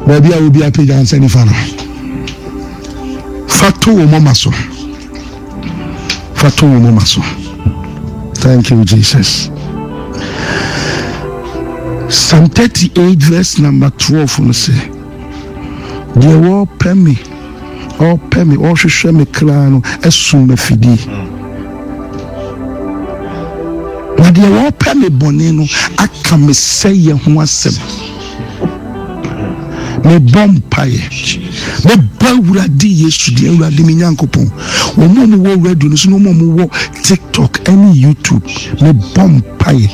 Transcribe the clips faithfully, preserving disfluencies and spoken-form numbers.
Baabi a obi apagya nsa nifa no, fa to wo moma so. Fa to wo moma so. Thank you, Jesus. Psalm thirty-eight verse number twelve no sɛ, deɛ wɔpɛ me, ɔpɛ me, ɔhwehwɛ me kra no asum afidie. Na deɛ wɔpɛ me bɔne no aka me sɛeɛ ho asɛm. Mebɔ mpaeɛ, mebɔ Awurade Yesu din, Awurade me Nyankopɔn. Wɔn a wɔwɔ radio no so ne wɔn a wɔwɔ TikTok ne YouTube, mebɔ mpaeɛ.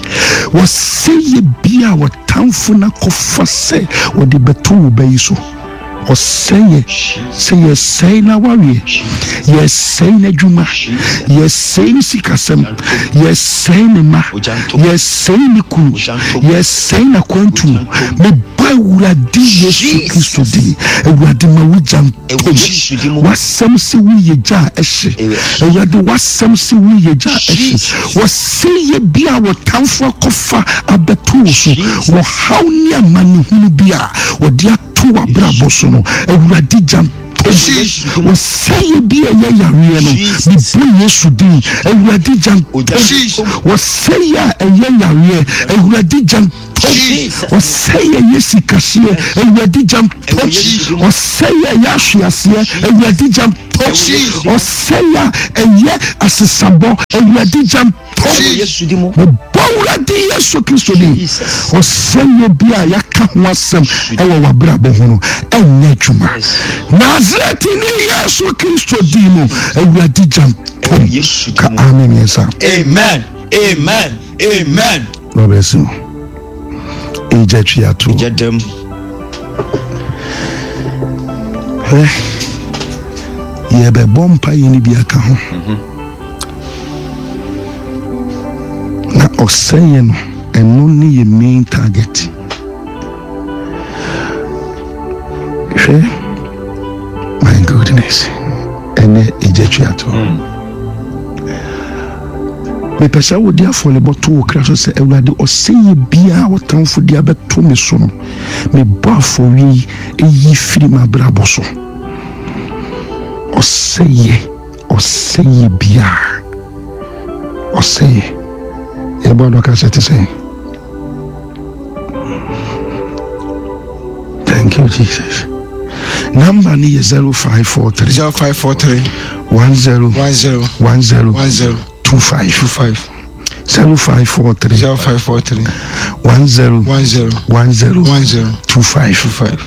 Wɔsɛeɛ bi a wɔtamfo no akɔfa sɛ wɔde bɛto wo ba yi so. Ɔsɛeɛ sɛ yɛsɛe n'awareɛ, yɛsɛe n'adwuma, yɛsɛe ne sikasɛm, yɛsɛe ne mma, yɛsɛe ne kunu, yɛsɛe n'akwantuo. Mebɔ Awurade Yesu Kristo din. Awurade ma wo gya ntom. W'asɛm sɛ woyɛ gya a ɛhye. Awurade w'asɛm sɛ woyɛ gya a ɛhye. Wɔsɛeɛ bi a wɔtamfo akɔfa abɛto wo so, wɔhaw ne amanehunu bi a wɔde ato w'abrabɔ so no, Awurade gya ntom. Wɔsɛeɛ bi a ɛyɛ yareɛ no, mebɔ Yesu din, Awurade gya ntom. Wɔsɛeɛ a ɛyɛ yareɛ, Awurade gya ntom. Ɔsɛeɛ yɛ sikahyeɛ, Awurade gya ntom. Ɔsɛeɛ yɛ ahweaseɛ, Awurade gya ntom. Ɔsɛeɛ a ɛyɛ asesabɔ, Awurade gya ntom. Mebɔ Awurade Yesu Kristo din. Ɔsɛeɛ bi a yɛaka ho asɛm ɛwɔ w'abrabɔ ho no, ɛnyɛ adwuma. Nasaretni Yesu Kristo din mu, Awurade gya ntom. Ka amen mmiɛnsa. Amen. Amen. Amen. God bless you. Egya twi ato. Egya dam. Hwɛ, yɛbɛbɔ mpaeɛ no bi aka ho. Na ɔsɛeɛ no, ɛno ne yɛ main target. Hwɛ, my goodness, ɛnɛ egya twi ato. Mepɛ sɛ wode afɔrebɔ to wo kra so sɛ, Awurade, ɔsɛeɛ biara wɔtamfo de abɛto me so no, mebɔ afɔreɛ yi ɛyi firi m'abrabɔ so. Ɔsɛeɛ, ɔsɛeɛ biara, ɔsɛeɛ. Yɛbɔ adɔka sɛ te sɛ. Thank you, Jesus. Number ni yɛ zero five four three. Zero five four three. One zero. One zero. One zero. One zero. Two five. Two five. Zero five four three. Zero five four three. One zero. One zero. One zero. One zero. Two five. Two five.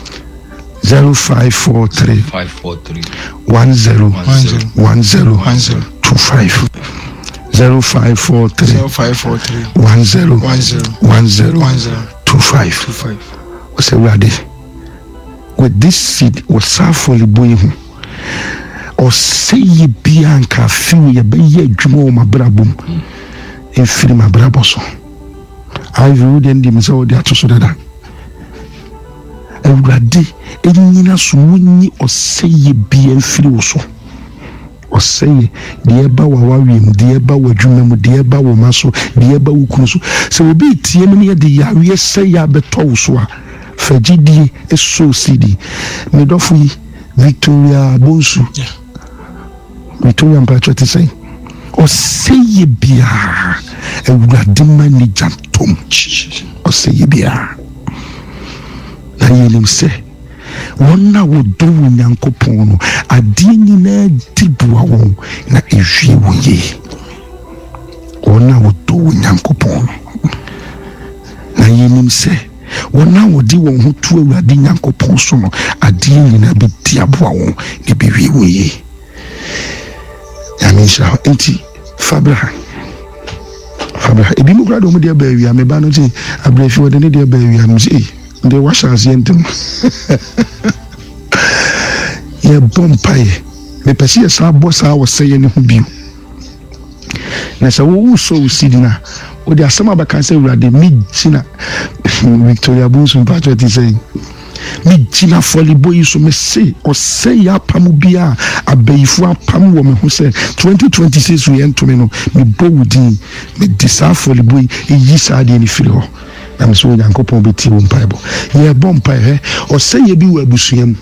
Zero five four three. Five four three. One zero. One zero. One zero. One zero. Two five. Zero five four three. Zero five four three. One zero. One zero. One zero. One zero. Two five. Two five. Ɔsɛ Awurade, with this seed wɔ saa afɔrebɔ yi ho, ɔsɛeɛ biara nka afew yɛbɛyɛ adwuma wɔ m'abrabɔ mu, ɛmfiri m'abrabɔ so. Ivy, wo deɛ ndim sɛ wode ato so dada. Awurade ɛnyina so wonyi ɔsɛeɛ biara mfiri wo so. Ɔsɛeɛ deɛ ɛba wɔ awareɛ mu, deɛ ɛba wɔ adwuma mu, deɛ ɛba wɔ ma so, deɛ ɛba wo kunu so. Sɛ obi tie mu ne yɛde yareɛ sɛeɛ abɛtɔ wo so a, fa gyidie ɛsɔ sidi. Me dɔfo yi, Victoria Bonsu. Victoria mpakyɛ te sɛn? Ɔsɛeɛ biara, Awurade ma ne gya ntom. Ɔsɛeɛ biara. Na yɛnim sɛ wɔn a wɔdɔ wɔ Nyankopɔn no, adeɛ nyinaa di boa wɔn na ɛwie wɔn yie. Wɔn a wɔdɔ wɔ Nyankopɔn no, na yɛnim sɛ wɔn a wɔde wɔn ho to Awurade Nyankopɔn so no, adeɛ nyinaa bɛdi aboa wɔn na ɛbɛwie wɔn yie. Nyame nhyira wo. Nti fa bra ha, fa bra ha. Ebi mu koraa de wɔn deɛ ba awia, me ba no sɛ abrɛfi wɔde ne deɛ ba awia no sɛ, deɛ wahyɛ aseɛ ntɛm. Yɛbɔ mpaeɛ. Mepɛ sɛ yɛsan bɔ saa ɔsɛeɛ no ho bio. Na sɛ wowu sɔ wo sidi no a, wode asɛm a bɛka sɛ, Awurade, megyina Victoria Bonsu mpakyɛ te sɛ megyina afɔrebɔ yi so, mese ɔsɛeɛ apam bi a abayifoɔ apam wɔ me ho sɛ twenty twenty-six yɛ ntome no, mebɔ wo din, mede saa afɔrebɔ yi ɛyi saa adeɛ no firi hɔ. Na mesɛ Onyankopɔn bɛtie wo mpaebɔ. Yɛbɔ mpae hɛ, ɔsɛyɛ bi wɔ abusua mu.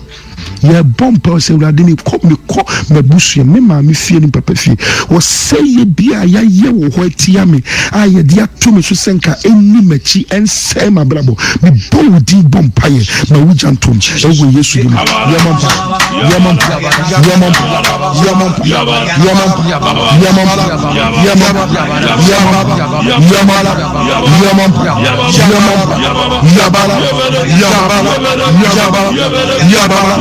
Yɛbɔ mpae sɛ Awurade, mekɔ mekɔ m'abusua, me maame fie ne papa fie, wɔsɛyɛ bi a yɛayɛ wɔ hɔ atia me a yɛde ato me so sɛ nka ɛnni m'akyi ɛnsɛe m'abrabɔ. Mebɔ wo din bɔ mpaeɛ ma wogya ntom ɛwɔ Yesu din mu. Yɛmɔ mpa, yɛmɔ mpa, yɛmɔ mpa, yɛmɔ mpa, yɛmɔ mpa, yɛmɔ mpa, yɛmɔ mpa, yɛmɔ mpa, yɛmɔ mpa, yɛmɔ mpa, yɛmɔ mpa, yabala, yabala, yabala, yabala, yabala, yabala, yabala,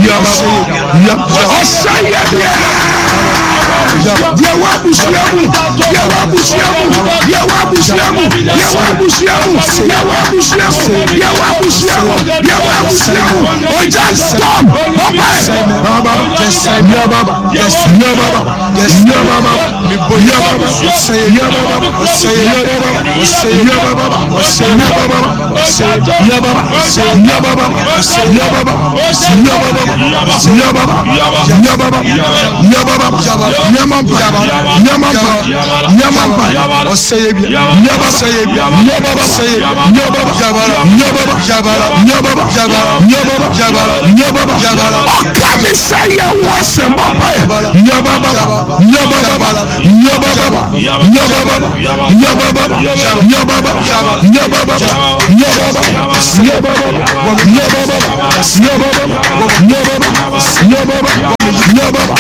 yabala, ɔsɛyɛ deɛ deɛ wɔ abusua mu, deɛ wɔ abusua mu, deɛ wɔ abusua mu, deɛ wɔ abusua mu, deɛ wɔ abusua mu, deɛ wɔ abusua mu, deɛ wɔ abusua mu, ɔgya storm ɔpɛ baba yababa yababa yababa yababa yababa yababa yababa yababa yababa yababa yababa yababa yababa yamampa yamampa yamampa yababa yababa yababa yababa yababa yababa yababa ɔka mi sɛ yɛ wɔ sɛ mɔmpa yɛ yababa yababa yababa yababa yababa yababa yababa yababa yababa yababa yababa yababa yababa yababa.